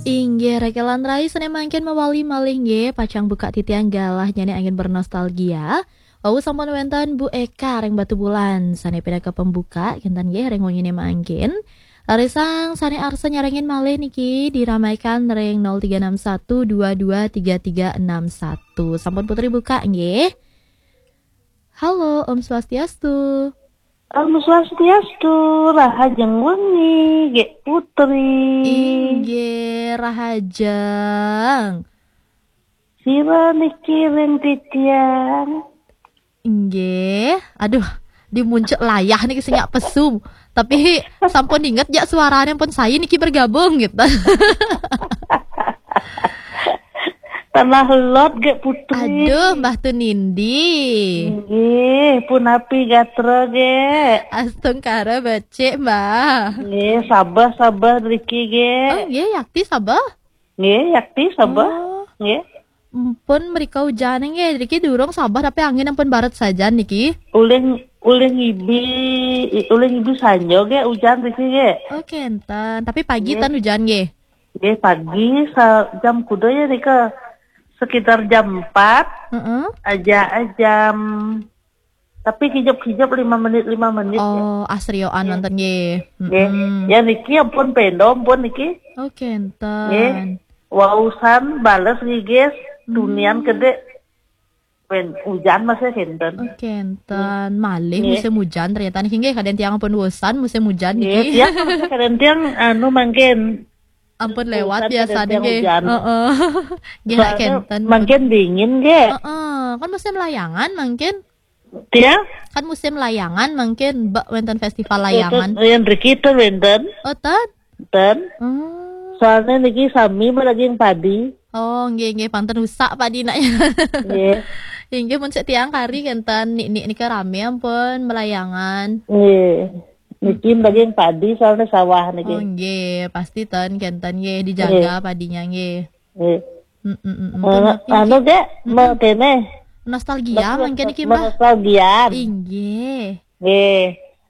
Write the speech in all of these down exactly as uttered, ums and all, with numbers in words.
Inggih, Reke lan Rai, sané mangkin mawali malih nggih, pacang buka titiang galah nyanyi angin bernostalgia. Wau sampun wénten Bu Eka ring Batubulan, sané pinaka pembuka, kinten nggih ring wenginé mangkin. Larisang sané arsa nyarengin malih niki diramaikan ring nol tiga enam satu dua dua tiga tiga enam satu. Sampun Putri buka nggih. Halo, Om Swastiastu. Om Swastiastu, rahajeng wengi, Gék Putri. Inggih, rahajeng. Sira niki ring titiang. Inggih. Aduh, di muncuk layah niki sing nyak pesu. Tapi sampun inget jak suaranya pun saya niki bergabung gitu. Tanah lot, Gék Putri. Aduh, Mbah Tunindi. Nggih, punapi gatra, Gék? Astungkara becik, Mbah. Nggih, sabeh-sabeh niki, Gék. Oh, nggih, yakti sabeh? Nggih, yakti sabeh. Oh. Nggih. Mpun mrika ujan nggih, niki durung sabeh tapi angin ampun baret sajan niki. Ulih, ulih ngibi, ulih ngibi sanjo, Gék, ujan niki, Gék. Oh, kenten. Tapi pagi Nggih. Ten ujan nggih. Nggih, pagi sa-, jam kuda ya nika? Sekitar jam empat. Heeh. Aja, eh, jam, tapi kijep-kijep lima menit, lima menit, ya. Oh, asrioan Nggih. Nonton nggih. Nggih. Mm-mm. Ya niki ampun pendo, ampun niki. Oh, kenten. Nggih. Wausan bales nggih, guys. Hmm. Tunian kedek. Wen, hujan masih kenten. Oh, kenten. Malih Nggih. Musim hujan ternyata niki nggih, kadén tiang ampun bosan musim hujan Nggih, niki. Tiang masih kadén tiang anu mangkin. Ampun lewat Bosan biasa kadén tiang nggih. Hujan. Heeh. Nggih, soalnya kenten. Mangkin dingin nggih. Heeh, kan musim layangan mangkin. Tiang? Kan musim layangan mangkin, Mbak wénten festival layangan. Yang riki ten wénten. Oh, ten? Ten. Hmm. Soalnya niki sami melaging padi. Oh, nggih, nggih, panten rusak padi nak. Nggih. Inggih, mun sik tiang kari kenten nik-nik nika rame ampun melayangan. Nggih. Niki daging padi soalnya sawah niki. Oh, nggih, pasti ten kenten nggih dijaga Nggih. Padinya nggih. Nggih. Mm, mm, mm, mm. Anu, Nggih. Gék, Mm, mm. Kéné. Nostalgia Nostal-, mangkin iki, Mbah. Nostalgia. Inggih. Nggih.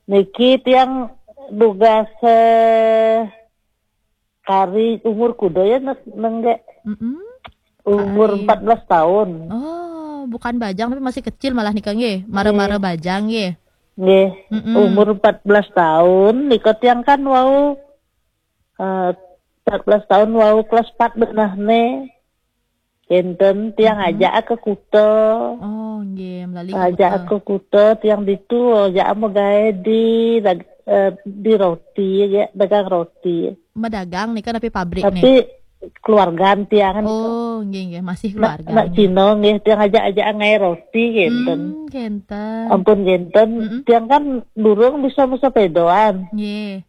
Niki tiang dugas, eh, kari umur kuda ya, Nék, Nék, Gék? Mm-mm. Umur Kari. Empat belas tahun. Oh, bukan bajang tapi masih kecil malah nika nggih. Mara-mara Nggih. Bajang nggih. Nggih. Mm-mm. Umur empat belas tahun nika tiang kan wau, eh, empat belas tahun wau kelas empat benehné. Kenten tiang Mm-mm. Ajak ke kuta. Oh, nggih, melali ke Ajak kuta. Ke kuta tiang ditu, ajak magaé di dag-, eh, di roti ya, dagang roti. Medagang nika tapi pabrik Tapi nih. Keluargaan tiang kan. Oh, nggih, nggih, masih Nak, keluarga nak nggih. Cina nggih, tiang ajak-ajak ngaé roti kenten. Hmm, kenten. Ampun kenten, Mm-mm. Tiang kan durung bisa mesepédoan. Nggih.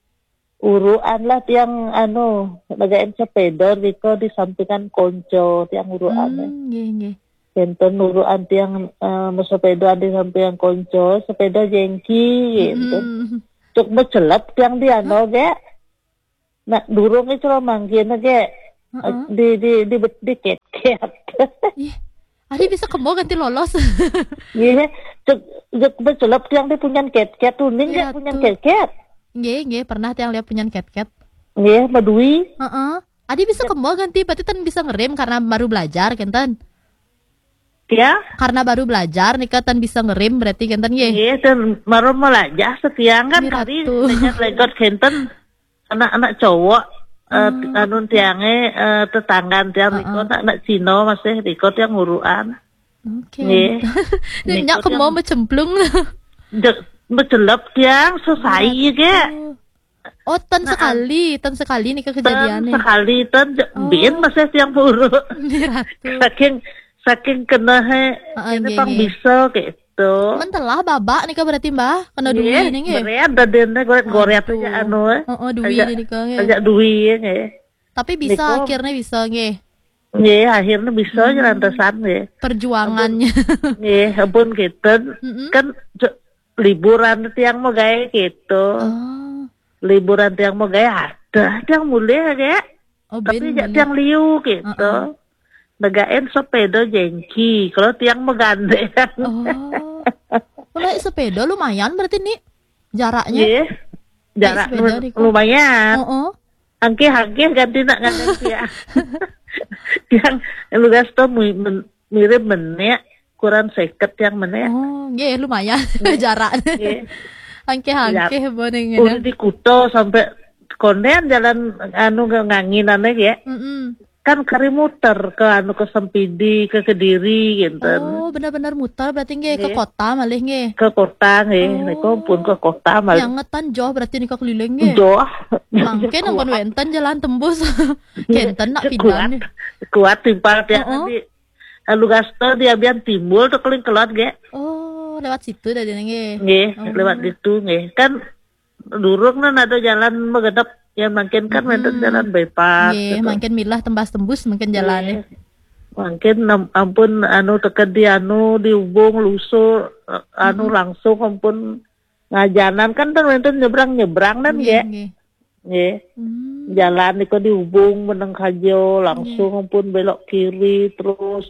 Uruan lah tiang anu, negain sepéda riko di sampingan konco tiang uruan. Hmm, nggih, nggih. Kenten uruan tiang, eh, mesepéda di sampingan konco, sepéda jengki kenten. Mm-mm. Cuk mecelep tiang di anu, Hah? Gék. Nak durung iki cara mangkin, Gék. Heeh. Di, di, di, di ket-ket. Ih, adi bisa kemo ganti lolos. Nggih, cek, cek becelep tiang di punyan ket-ket, uning Iya, Gék punyan tuh. Ket-ket. Nggih, nggih, pernah tiang lihat punyan ket-ket. Nggih, madui. Heeh. Adi bisa Cek. Kemo ganti, berarti ten bisa ngerem karena baru belajar, kenten. Ya? Karena baru belajar, nika ten bisa ngerem, berarti kenten, nggih. Nggih, ten baru melajah setiang kan Nggih, kari, Ratu. Dengan legot kenten. Anak-anak cowok, eh, Hmm. Anu tiangé, eh, tetanggan tiang riko, Heeh. Anak-anak Cina masih riko tiang uruan. Oke. Nggih. Nggih. Nyak Niko kemo tiang becemplung. Jek, becelep tiang, sesai Ratu. Gék. Oh, ten Nah, sekali, ten sekali nih ten kejadiannya. Sekali, ten je-, Oh. Bin masih tiang puru. Nggih, Ratu. Saking, saking kenehé, Heeh, ini nggih, pang nggih. Bisa gitu. Mentelah babak nih, Kak, berarti, Mbah? Kena dui Nggih, nih, nggih? Berat dadene goret-goret Aduh. Aja anu, eh. Heeh, dui Ajak, nih, nih, Kak, nggih. Ajak dui, nggih. Tapi bisa, Niko. Akhirnya bisa, nggih. Nggih, akhirnya bisa aja Hmm. Lantasan, nggih. Perjuangannya. Ampun, nggih, ampun, gitu. Mm-mm. Kan je-, liburan tiang mau gawe gitu. Oh. Liburan tiang mau gawe ada, tiang mulih, Gék. Oh, tapi ben jak mulih. Tiang liu gitu. Heeh. Negain sepeda jengki, kalau tiang megandeng. Oh. Kalau naik sepeda lumayan berarti, nih, jaraknya. Iya. Naik jarak sepeda, lu-, Riko. Lumayan. Heeh. Angkeh-angkeh ganti nak ngangen tiang. Tiang lugas to mi-, men-, mirip menek, kurang seket tiang menek. Oh, nggih, lumayan jarak. Nggih. Angkeh-angkeh bo ning. Udah di Kuta sampai konden jalan anu nganginane ya. Mm-mm. Kan kari muter ke anu, ke Sempidi, ke Kediri gitu. Oh, bener-bener muter berarti nggih, ke kota malih nggih. Ke kota nggih, oh, niku pun ke kota malih. Yang ngetan jauh berarti nika keliling nggih. Jauh. Mangkin ampun wenten jalan tembus. Kenten nak pindah. Kuat timpal tiang di Alu Gasto di Abian Timbul tuh keling kelot ge. Oh, lewat situ dah dia nggih. Nggih, oh, lewat situ nggih. Kan durung nan ada jalan megedep, ya mungkin kan wenten jalan bypass. Nggih, gitu. Mungkin milah tembas tembus mungkin jalannya. Nggih. Mungkin nam-, ampun anu teken di anu di Ubung Lusu, eh, anu langsung ampun ngajanan kan ten wenten nyebrang-nyebrang nan nggih, nggih. Nggih. Hmm. Jalan niku di Ubung meneng kajo langsung ampun belok kiri terus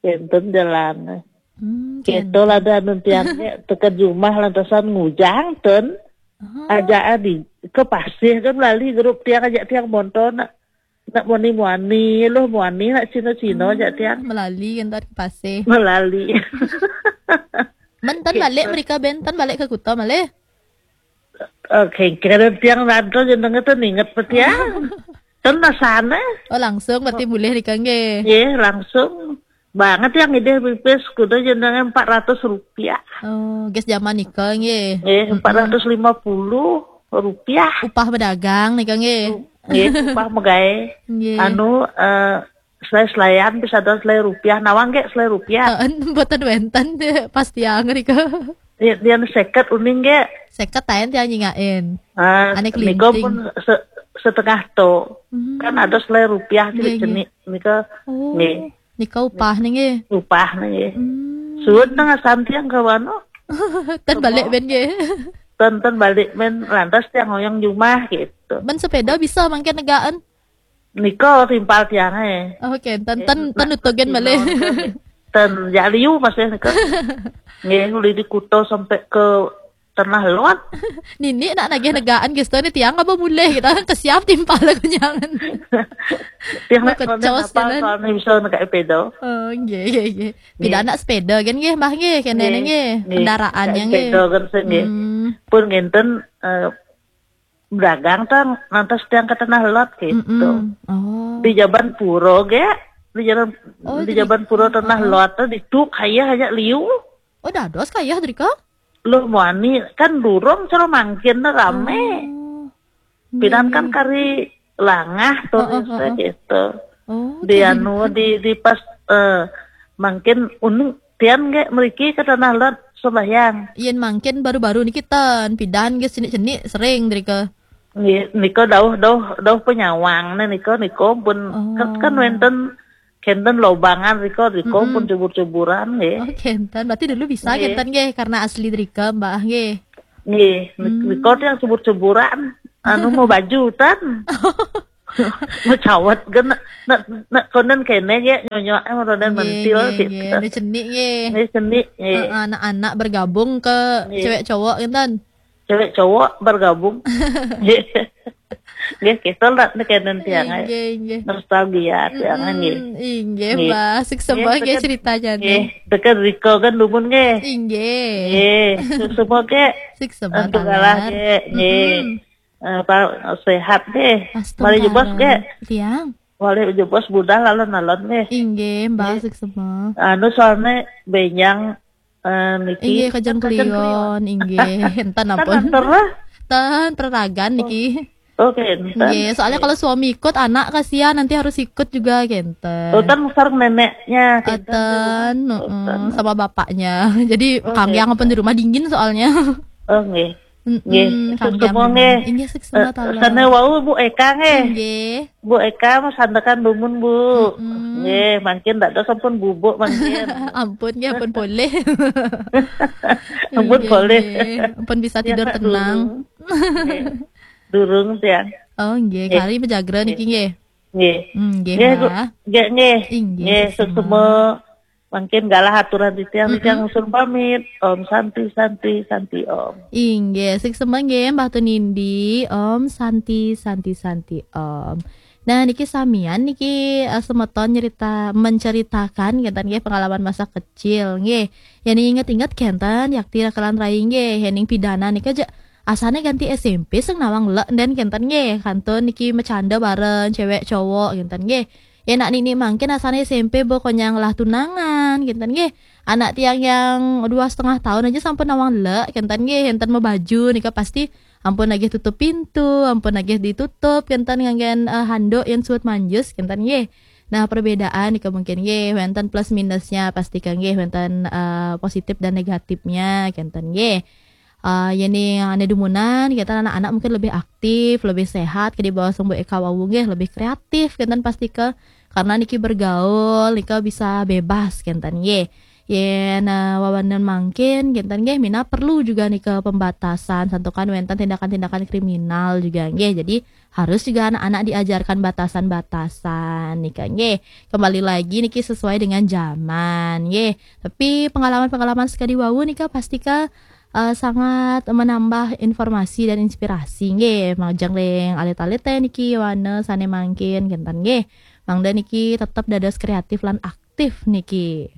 wenten jalan. Hmm, gitu lah dah nun tiang ge teken jumah lantasan ngujang ten. Ah. Aja adi ke pasih kan lali grup tiang aja tiang monto nak, nak muani-muani, loh muani nak Cina-Cina aja tiang. Melali kan tadi ke pasih. Melali. Menten balik mereka benten balik ke Kuta malih. Oke, kira tiang nanto jenenge ten inget petiang. Ten nasane. Oh, langsung berarti mulih nika nggih. Nggih, langsung. Banget yang ide pipis kuda jenenge empat ratus rupiah. Oh, gas zaman nika nggih. Nggih, empat ratus lima puluh rupiah. Upah pedagang nika nggih. Nggih, upah megawe. Nggih. Anu, eh, selai-selaian bisa ada selai rupiah, nawang ge selai rupiah. Heeh, mboten wenten deh, pas tiang nika. Dia, dia seket uning ge. Seket taen tiang nyingain. Ah, ane nika kelinting. Pun se-, setengah to. Hmm. Kan ada selai rupiah nggih, nggih. Cenik. Nika, oh, nggih. Nika upah nih nggih. Upah nih nggih. Hmm. Suwun tengah santiang ke wano. Ten balik ben nggih. Ten, ten balik ben lantas tiang oyong jumah gitu. Ben sepeda bisa mangke negaan. Nika timpal tiange. Oh, oke, ten, eh, ten, ten utugen malih. Ten jaliu masih nika. Nggih, uli di Kuta sampai ke Tanah Lot. Nini nak nagih negaan gitu nih tiang apa mulih gitu. Kesiap timpal aku jangan. Tiang nak kecos apa soalnya bisa nak sepeda. Oh, nggih, nggih, nggih. Pida nak sepeda kan nggih, Mbah nggih, kene nggih. Kendaraannya nggih. Sepeda kan sih nggih. Hmm. Pun ngenten, eh, berdagang tang nantas tiang ke Tanah Lot gitu. Mm-mm. Oh. Di Jaban Puro ge, di Jaban, oh, di Jaban Puro Tanah Lot tuh di tuk kaya aja liu. Oh, dados kaya drika? Loh muani kan durung cara mangkin rame. Oh. Pidan kan kari langah tuh gitu. Oh, di anu di, di pas, eh, mangkin uning tiang ge meriki ke Tanah Lot sembahyang. Yen mangkin baru-baru niki ten pidan ge sini-sini sering drika. Nggih, nika dauh, dauh, dauh penyawang nih nika, nika pun kan, kan wenten, kenten lobangan nika, nika pun cebur-ceburan nggih. Oh, kenten. Berarti dulu bisa kenten nggih karena asli drika Mbak nggih. Nggih, nika yang cebur-ceburan anu mau baju tan. Mau cawat kan nak, nak, nak konen kene ya nyonyok eh ronden mentil gitu. Nggih, nggih. Ini cenik nggih. Ini cenik nggih. Heeh, anak-anak bergabung ke cewek cowok kenten. Cewek cowok bergabung. Nggih, kita lah nih kenen tiang ai. Nggih, nggih. Nostalgia tiang ai nggih. Mm, inggih, Mbah. Suksema nggih ceritanya nggih. Tekan Riko kan dumun nggih. Inggih. Nggih, suksema nggih. Suksema nggih. Nggih. Apa sehat nggih. Mari jebos nggih. Tiang. Mari jebos budal alon-alon nggih. Inggih, Mbah suksema. Anu soalnya benyang Eh, niki inggih, Kajeng Klion, inggih. Enten ampun. Tan pereragan niki. Oke, enten. Nggih, soalnya kalau suami ikut, anak kasihan nanti harus ikut juga kenten. Oh, tan sareng neneknya kenten. Enten, heeh, sama bapaknya. Jadi kanggiang ampun di rumah dingin soalnya. Oh, nggih. Nggih, suksema nggih. Inggih, suksema. Eh, sana wau Bu Eka nggih. Nggih. Bu Eka, mas sandekan dumun, Bu. Mm-mm. Nggih, mangkin dak ada sampun bubuk mangkin. Ampun nggih, ampun polih. Ampun bisa tidur tenang. Nggih. Durung tiang. Oh, nggih, kari mejagra niki nggih. Nggih. Hmm, nggih, Bu. Nggih, nggih. Inggih, suksema. Mangkin galah aturan titiang, Mm-mm. titiang usul pamit. Om Santi, Santi, Santi Om. Inggih, suksma nggih Mbah Tunindi. Om Santi, Santi, Santi Om. Nah, niki samian niki eh, semeton nyerita menceritakan kenten nggih pengalaman masa kecil nggih. Yang inget-inget kenten yakti rakalan rai nggih, yening pidana nika ja asane ganti S M P sing nawang lek den kenten nggih. Kantun niki macanda bareng cewek cowok kenten nggih. Ya nak nini mangkin asane S M P bo konyang lah tunangan kenten nggih. Anak tiang yang dua setengah tahun aja sampun nawang lek kenten nggih, enten mabaju nika pasti ampun nagih tutup pintu, ampun nagih ditutup kenten nganggen eh, handuk yang suut manjus kenten nggih. Nah, perbedaan nika mungkin nggih wenten plus minusnya pasti kan nggih, wenten eh, positif dan negatifnya kenten nggih. Eh, yening ane dumunan kenten anak-anak mungkin lebih aktif, lebih sehat ke di bawah sembuh eka wawu nggih, lebih kreatif kenten pasti ke karena niki bergaul nika bisa bebas kenten nggih. Yen eh, wawanen mangkin kenten nggih mina perlu juga nika pembatasan santukan wenten tindakan-tindakan kriminal juga nggih. Jadi harus juga anak-anak diajarkan batasan-batasan nika nggih. Kembali lagi niki sesuai dengan zaman nggih. Tapi pengalaman-pengalaman sekadi wawu nika pasti ke eh, sangat menambah informasi dan inspirasi nggih. Majeng ring alit-alit teh niki wana sane mangkin kenten nggih. Mangda niki tetap dados kreatif lan aktif niki.